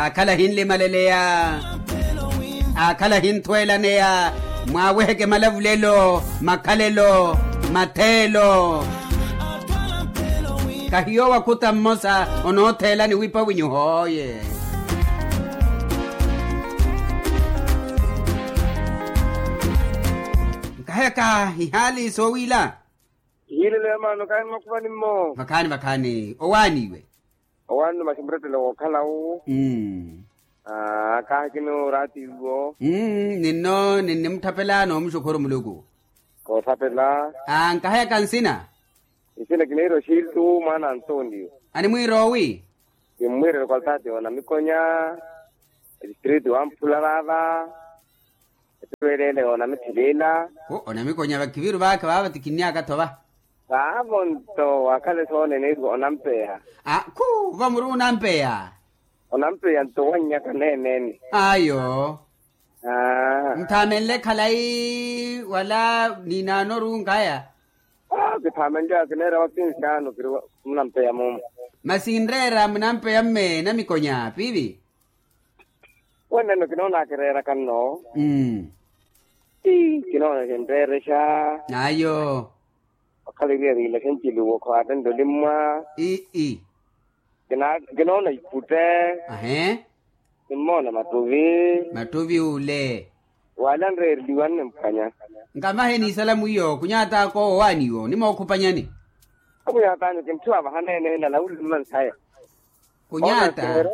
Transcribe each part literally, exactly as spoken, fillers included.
Akhala ahinlimaleleya, akhala ahinthwelaneya, mwaweheke malavulelo, makhalelo, matheelo. Kahiyo wakhuta mmosa onootheelani wipa winyuhooye. Nkaheka ihaali soowila. Ihiilelo ya maano kaani mwakhuvani mmo. Vakhaani vakhaani owaaniwe. Owaani masimburettelo wookhalawu. Aaa kaahikini oraatiiwo. Ninno ninnimutthapela noomuxukhuru muluku. Koothapela. Aa nkahayaka nsina. Nsina kiniira oxiiltu mwaana antonio. Animwiira owi? Kimmwiirela okaltaati onamikonya. Etistritu wamphula vaava. Ettuweleele onamithiliila. Onamikonya vakiviru vaakha vaava ti kinniaka-tho va. Vaavo nto wakhale soonene iru onampeya. Khu vamuru onampeya. Onampeya nto wannyaka neeneni. Ayo. Nthaamenle khalayi wala niinaanoru nkaya. Kithaamenle akineera wakinsi ano kiri munampeya mumu. Masi nreera munampeya mme namikonya piivi. Weneno kinoona akireeraka nno. Kinoona kinreerexa. Ayo. Okhala iriya riilaxe nciluwo khwaatta ntolimmwa. Ii. Kinoona iputte. Ahe. Nimmoona mattuvi. Mattuvi ule. Wala nreereliwa nnimpwanya. Nkamahe ni isala mwiyo kunyaata ako owaaniwo nimookhupanyani. Akunyaatani kinthuwa vahanene nalawulimma nsaya. Kunyaata.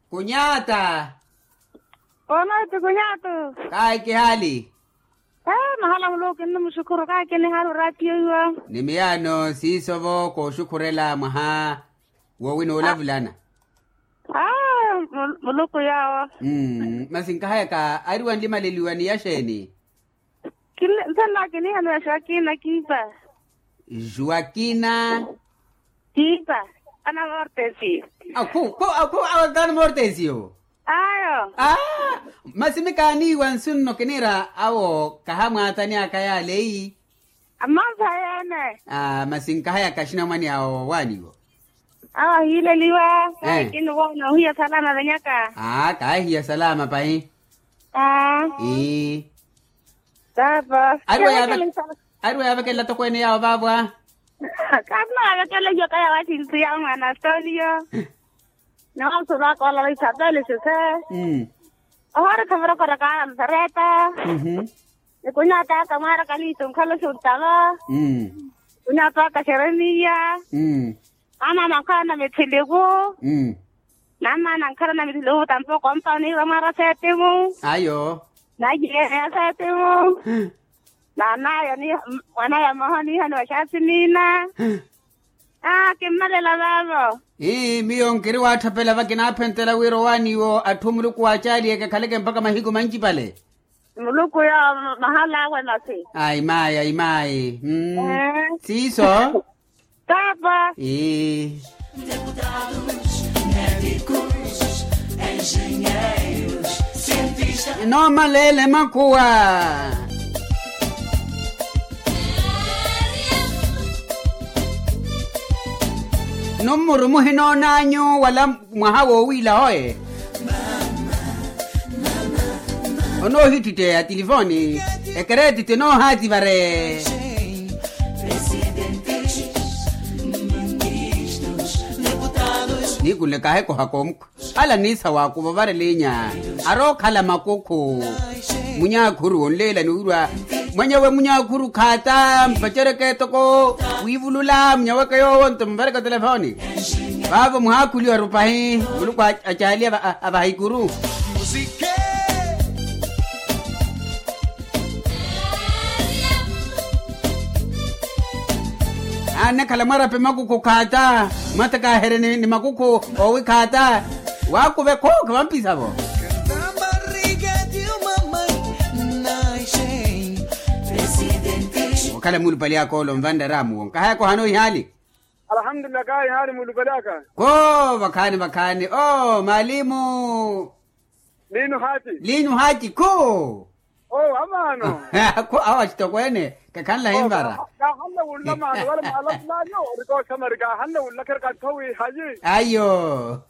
Kunyaata. Onooti kunyaatu. Kahi kihaali. Mahala muluku kinnimuxukhuru kahi kinihaali oraatiyo iwa. Ni miyaano siiso-vo kooxukhurela mwaha wowi noolavulana. Muluku yaawo. Masi nkahayaka ari wanlimaleliwa ni yaxeeni? Nthena kiniihaniwa joakina kiipa. Joakina. Kiipa. Ana mortesio. Akhu akhu awo tani mortesio. Ayo. Masi mi kaaniiwa nsu nno kiniira awo kahamwaatani aka yaaleyi. Amansa yeene. Masi nkahayaka axinamwane awo waaniwo. Awo ahiileliwa kaahikini woona ohiya salama venyaka. Kaahiya salama pahi. Ii. Ari wayavekelela tokweene yaawo vaavo a. Kaasi nawavekelela iyaka yaawo axinsi yaawo mwaana astonio. Noosuru aka olala isapeli sise. Ohoorikha murokoroko analusareta. Nikunyaata aka mwaaraka liitu nkhala oxuttava. Nikunyaata aka xeremiya. Amaama nkhala na mithiliku. Nammaana nkhala na mithiliku tampoko ompa oniiva mwaara seetimu. Ayo. Nayeeya seetimu. Naanaya mwanaya mmoha oniihaniwa xaasimiina. Kimmalela vaavo. Ii miyo nkiri waatthapela vakinaaphentela wira owaaniwo atthu muluku waacaaliyeke akhaleke mpakha mahiku mancipale. Muluku yoowo mahala awe masi. Ayi mayi ayi mayi. Siiso. Paapa. Ii. Noomaleele makhuwa. Nummuru muhinoon'anyu wala mwaha woowiila hoye. Onoohittitteyaya tilifooni ekereeti tinoohaati vare. Niikunle kaahekohaka omukhwa. Ala niisa waakuva ovarela inya arookhala makukhu. Munyaakhuru onleela niwirwa mwenyewe munyaakhuru khaata mpacereke etoko. Wiivulula munyaweke yoowo nto muvareke otelefoni. Vaavo muhaakhuliwa rupahi muluku acaaliye avaha ikuru. Annekhala mwarape makukhu khaata. Mwatakaaherye ni makukhu owi khaata. Waakuve khooka vampisavo. Okhala mulupali akoolo nvanreramu wo nkahaya kohano ihaali. Alhamdulillah kahi haari mulupali aka. Koo vakhaani vakhaani oo maalimu. Liinu haati. Liinu haati koo. Awo amaano. Awo axitokweene kakhanlahi nvara. Kaahanle wunla maano wale mwaalavulaayo orikooxamari kaahanle wunla khereka ntho wiihayi. Ayo.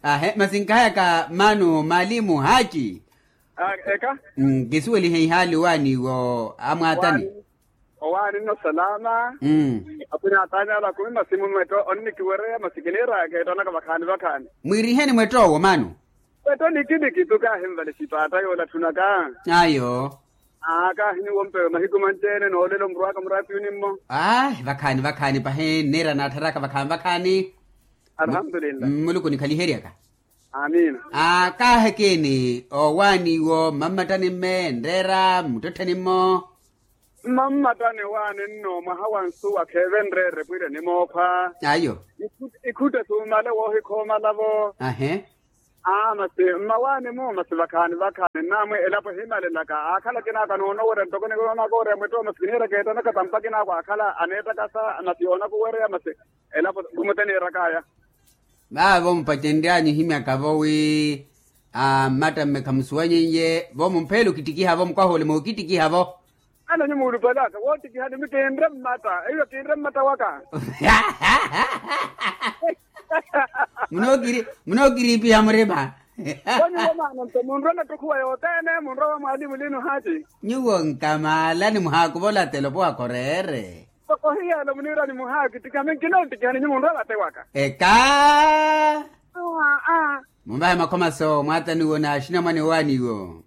Ahe masi nkahayaka maano maalimu haaci. Eka. Nkisuwelihe ihaali owaani wo amwaatani. Owaani nno salama. Apwina ataani ala akumi masi mumwetto onnikiwereya masi kiniiraya keettanaka vakhaani vakhaani. Mwiiriheni mwetto owo maano. Mwetto nikinikitu kaahinvale sipaatta yoola atthunaka. Ayo. Aa kaahiniwompewe mahiku manci-ene noolelo murwaka muraatiyuni mmo. Aahi vakhaani vakhaani pahi nniira naattharaka vakhaani vakhaani. Alhamdulillah. Muluku onikhaliheryaka. Amiina. Aa kaahekeni owaani iwo mmammattani mme nreera mmuttettheni mmo. Mmammattani owaani nno mwaha wa nsuwa kheeve nreere pwire nimookhwa. Ayo. Ikhutte suumale woohikhoomala-vo. Ahe. Aa masi mmawaani-mu masi vakhaani vakhaani nnaamwi elapo ehimalelaka aakhala akinaako anoonowerya ntoko nikoonaka oreya mwetto masi kiniira keettanaka tampa akinaako aakhala aneettakasa masi yoonakuwereya masi elapo khumuteniirakaya. Vaavo mupacenryanyu ohimyaka-vo wi ammatta mme khamusuwanyeiye vo mumpheyele okittikiha-vo mukwaha ole mookittikiha-vo. Ana nyu muulupale aka woottikihani mikinre mmatta eiyo kinre mmatta waka. Munookiriipiha murima. Konyuwo maana nto munrwa nattukhuwa yothene munrwa wa mwaalimu liinu haaci. Nyuwo nkamaalani muhaakuvola telopo waka oreere. Toko hiyelo muniirani muhaakittikiha minkinoottikihani nyu munrwa vatte waka. Eka. Munvahe makhomaso mwaataniwo na axinamwane owaaniwo.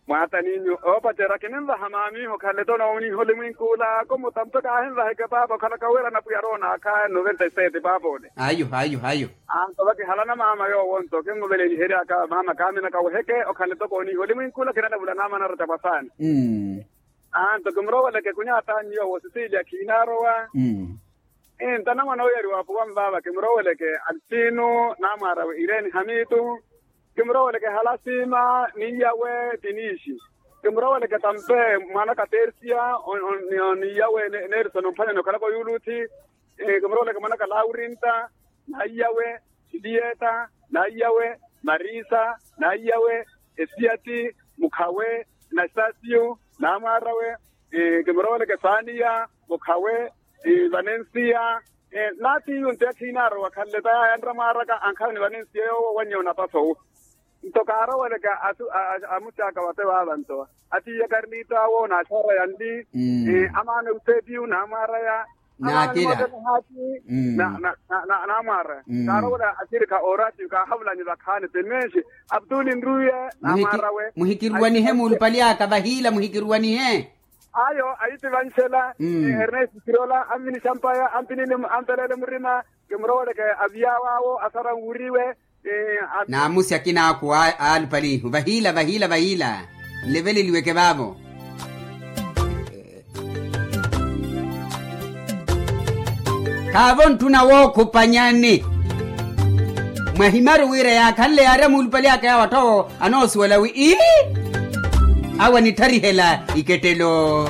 Mwaataniinyu oopacerya kininvaha maamiiho khaleto nooniiha olimwinkula kumutampe kaahinvaheke paapa okhalaka wira anapwiya aroona akhaya noventa y sete paapa ole. Ayo ayo ayo. Anto vakihalana maama yoowo nto kinmuveleliheryaka maama kaaminaka weheke okhaleto kooniiha olimwinkula kinalavula naamana aratta pwasaani. Anto kimuroweleke kunyaatanyu yoowo sisilia khiinaarowa. Nta namwana oyariwa apuwa nvaava kimuroweleke altino namwaarawe irene hamitu. Kimuroweleke halasima niyawe tinisi. Kimuroweleke tampe mwanaka tersia niyawe nelson omphwanyani okhalaka oyuluthi. Kimuroweleke mwanaka laurinta naiyawe, julieta naiyawe, marisa naiyawe, esiati mukhawe, nastasio namwaarawe. Kimuroweleke saniya mukhawe, vanensia. Naatiiyu nti akhiinaarowa khanle tayaya nramwaaraka ankhala ni vanensia yoowo wannya onapasowu. Nto kaaroweleke amusi aka vate vaava nto atiiya karlito awo naaxaaraya nli. Amaana eusepiyu naamwaaraya. Naakira. Naamwaaraya kaarowela axirikha oraatiyu kaahavulanyi vakhaani timenxi. Abtuli nruye naamwaarawe. Muhikiruwanihe muulupali aka vahiila muhikiruwanihe. Ayo ayi ti vanxela. Ernest sirola ammini xampaya ampelele murima. Kimuroweleke aviyawo awo asara nwuriwe. Naamusi akina aku aalupalihu vahiila vahiila vahiila. Nleveleliweke vaavo. Khaavo ntthuna wookhupanyani. Mwahimaru wira yaakhanle yaari amuulupali aka yawo atthu awo anoosuwela wi ii. Awo anitharihela ikettelo.